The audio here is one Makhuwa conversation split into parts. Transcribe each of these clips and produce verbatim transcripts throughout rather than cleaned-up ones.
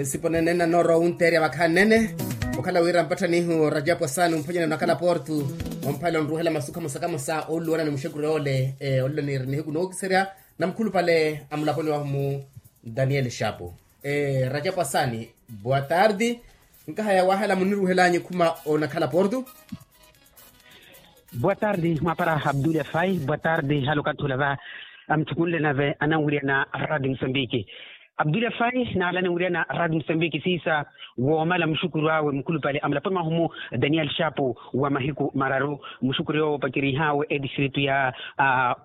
Sipo nene nanoora owunteerya vakhaani nene. Okhala wira mpatthanihu rajapu asaani omphwanyana onakhala portu, omphale onruhela masukha mosakamosa ooluwana ni muxekuri ole. Olelo niiri nihiku nookiserya na mukhulupale a mulaponi wahu mu daniel shapu. Rajapu asaani, boa tardi. Nkahaya wahela muniruhelanyu khuma onakhala portu. Boa tardi mwapara abdullah fai boa tardi halo kathula va. Amuthukunle nave ananwirya na radio musambiki. Abdullah fai naala ananwirya na radio musambiki siisa woomala muxukuru awe mukhulupale amulaponi mwahumu daniel shapu wa mahiku mararu. Muxukuru yoowo opakerihawe etistritu ya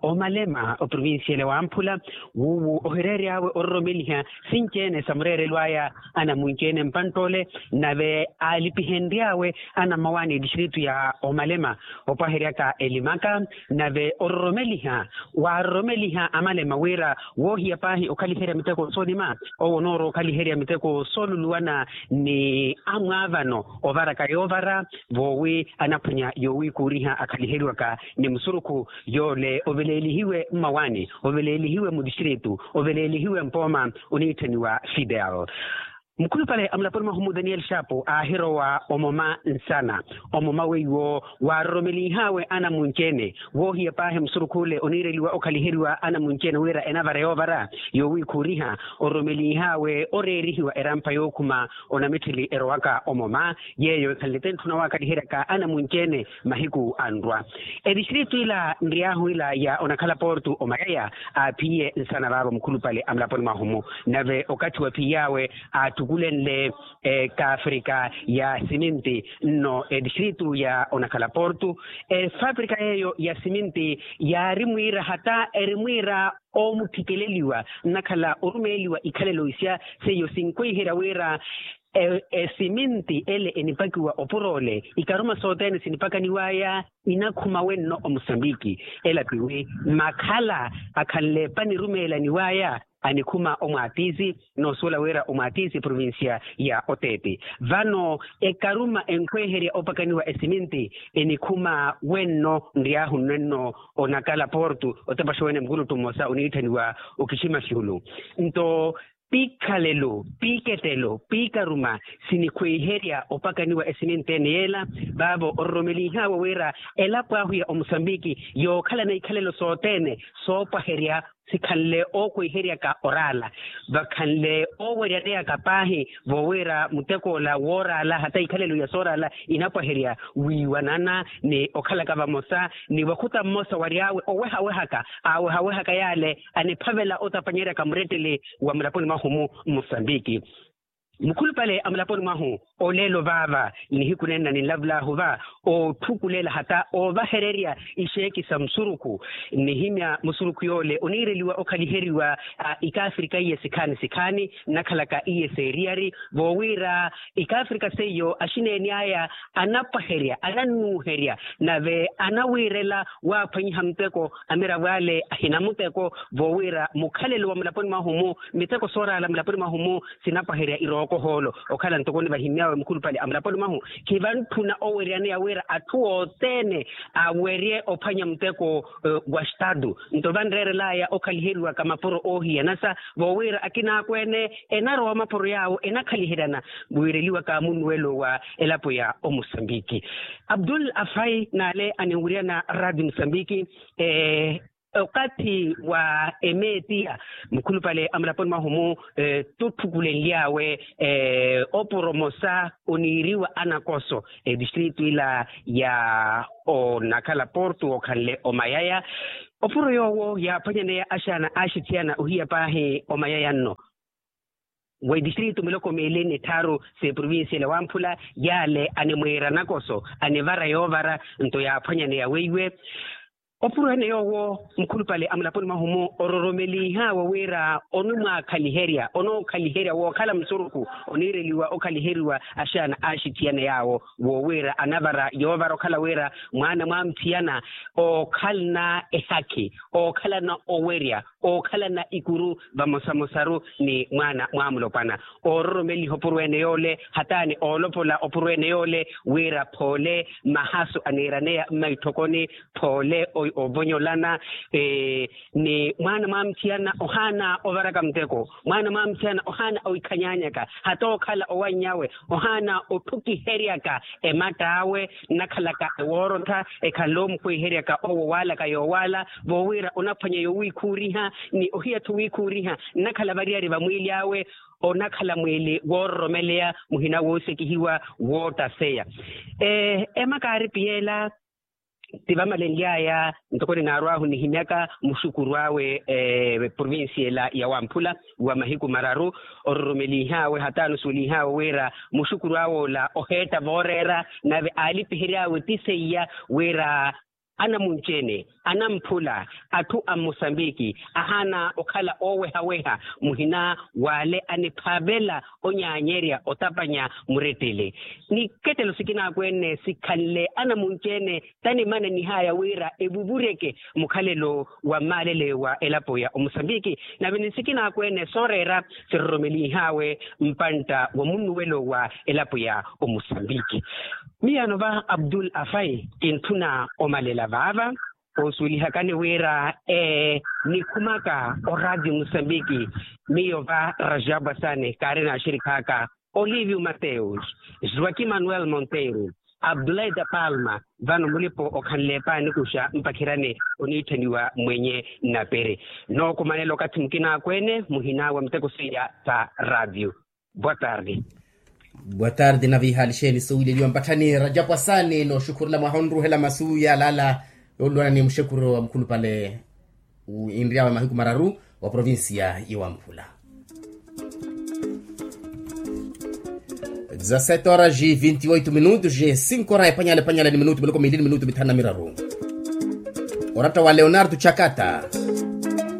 omalema oprovincia ele wamphula wuuwu ohireeryawe ororomeliha sinci-ene sa mureerelo aya anamunci-ene mpantt'ole. Nave aalipihenry'awe anammawaani etistritu ya omalema opwaheryaka elimaka. Nave ororomeliha waaroromeliha amalema wira woohiya paahi okhaliherya miteko soonima owo onoora okhaliherya miteko sooluluwana ni amwaavano ovaraka yoovara voowi anaphwanya yoowikuuriha akhaliheriwaka ni musurukhu yoole oveleelihiwe mmawaani oveleelihiwe mutistritu oveleelihiwe mpooma oniitthaniwa fidel. Mukhulupale a mulaponi mwahu mu daniel shapu aahirowa omoma nsana omoma weiwo waaroromelinhaawe anamunci-ene woohiya paahi musurukhu ole oniireliwa okhaliheriwa anamunci-ene wira enavara yoovara yoowikhuuriha ororomelinhaawe oreerihiwa erampha yookhuma onamitthili erowaka omoma yeeyo ekhanle tentthuna waakhaliheryaka anamunci-ene mahiku anrwa. Etistritu ila nriyaahu ila ya onakhala portu omayaya aaphiye nsana vaavo mukhulupale a mulaponi mwahu mu nave okathi waphiyawe aathukulenle ekaafrika ya siminti nno etistritu ya onakhala portu. Efaprika yeeyo ya siminti yaari mwiira hata eri mwiira oomuthikeleliwa nnakhala orumeeliwa ikhalelo isya seiyo sinkwiherya wira esiminti ele enipakiwa opuro ole ikaruma sothene sinipakaniwaya inakhuma wenno omusambiki. Ela tiwi makhala akhanle panirumeelaniwaya anikhuma omwaatisi noosuwela wira omwaatisi eprovincia ya oteepi vano ekaruma enkhweherya opakaniwa esiminti enikhuma wenno nriyaahu nnwenno onakala portu otepaxa wene mukulutu mmosa oniitthaniwa okiximaxihulu nto pikhalelo piketelo pikaruma sinikhwiherya opakaniwa esiminti ene yeela vaavo ororomelinhaawe wira elapo ahu ya omusambiki yookhalana ikhalelo sothene soopwaherya sikhanle ookwiheryaka oraala vakhanle ooweryaneyaka paahi voowira mutekoola wooraala hata ikhalelo ya sooraala inapwaherya wiiwanana ni okhalaka vamosa ni wakhuta mmosa wary'awe owehawehaka aawehawehaka yaale aniphavela otapanyeryaka murettele wa mulaponi mwahu mu musambiki. Mukhulupale a mulaponi mwahu oleelo vaava nihiku nenna ninlavulahu va ootthukulela hata oovahererya ixeeki sa musurukhu nnihimya musurukhu yoole oniireliwa okhaliheriwa ikaafrika iye sikhaani sikhaani nnakhalaka iye seeriyari voowira ikaafrika seiyo axineeni aya anapwaherya anannuuherya nave anawiirela waaphwanyiha muteko amiravo ale ahina muteko voowira mukhalelo wa mulaponi mwahu mu miteko sooraala mulaponi mwahu mu sinapwaherya irooko hoolo okhala ntoko nivahimy'awe mukhulupale a mulaponi mwahu khivantthuna oweryaneya wira atthu othene awerye ophwanya muteko wa xtatu nto vanreerelaya okhaliheriwaka mapuro oohiyanasa voowira akinaakweene enarowa mapuro yaawo enakhaliheryana wiireliwaka munnuwelo wa elapo ya omusambiki. Abdul afai n'ale aninwiryana radio musambiki okathi wa emeetiya mukhulupale a mulaponi mwahu mu totthukulenly'awe opuro mosa oniiriwa anakoso etistritu ila ya onakhala portu okhanle omayaya opuro yoowo yaaphwanyaneya axaana axithiyana ohiya paahi omayaya nno wa etistritu miloko miili ni tthaaru s'eprovincia ela wamphula yaale animwiira nakoso anivara yoovara nto yaaphwanyaneya weiwe opuro ene yoowo mukhulupale a mulaponi mwahu mu ororomelinhaawe wira onimwaakhaliherya onookhaliherya wookhala musurukhu oniireliwa okhaliheriwa axaana axithiyana yaawo woowira anavara yoovara okhala wira mwaana mwaamuthiyana ookhalana ehakhi ookhalana owerya ookhalana ikuru vamosamosaru ni mwaana mwamulopwana. Oororomeliha opurweene yoole hataani oolopola opurweene yoole wira phoole mahasu aniiraneya mmaitthokoni phoole ovonyolana. Ni mwaana mwamutthiyana ohaana ovaraka muteko mwaana mwamutthiyana ohaana owikhanyanyaka hata okhala owanny'awe ohaana otthukiheryaka ematt'awe nnakhalaka ewoorottha ekhala omukhwiheryaka owo waalaka yoowaala voowira onaphwanya yowiikhuuriha ni ohiyatthu wiikhuuriha nnakhala variyari vamwiili awe onakhala mwiili woororomeleya muhina woosekihiwa woottaseya. Ema kaaripiyela ti vamalenly'aya ntoko ninaarw'ahu nihimyaka muxukuru awe provincia ela ya wamphula wa mahiku mararu ororomelih'awe hataani osuwelih'awe wira muxukuru awe ola oheetta vooreera nave aalipihery'awe ti seiya wira anamunci-ene anamphula atthu a mmusambiki ahaana okhala oowehaweha muhina w'ale aniphavela onyaanyerya otapanya murettele. Ni kettelo sikinaakwene sikhanle anamunci-ene tanimananih'aya wira evuvureke mukhalelo wa mmaalele wa elapo ya omusambiki nave ni sikinaakwene sooreera siroromelih'awe mpantta wa munnuwelo wa elapo ya omusambiki. Miyaano va abdul afai kintthuna omalela vaava. Oosuwelihakani wira ee nikhumaka oraatio musambiki miyo va rajabu asani kaari n'axirikhaaka olivio mateus joaquim manuel monteiro abdulai da palma vano mulipo okhanle epaanikuxa mpakhirani oniitthaniwa mwenye nnapiri. Nookumanela okathi mukinaakweene muhina wa miteko seiya sa raatio. Boa tarde. Boa tarde na viihaalixeni suwileliwa mpatthani rajapu asaani nooxukhurela mwaha onruhela masu yaalala yoolwana ni muxekuro wa mukhulupale. Inry'awe mahiku mararu wa provincia ya wamphula. Dezasete horas e vinte e oito minutos e cinco horas epanyala epanyala ni minutu miloko miili ni minutu mithanu na miraru. Oratta wa leonardo chakata.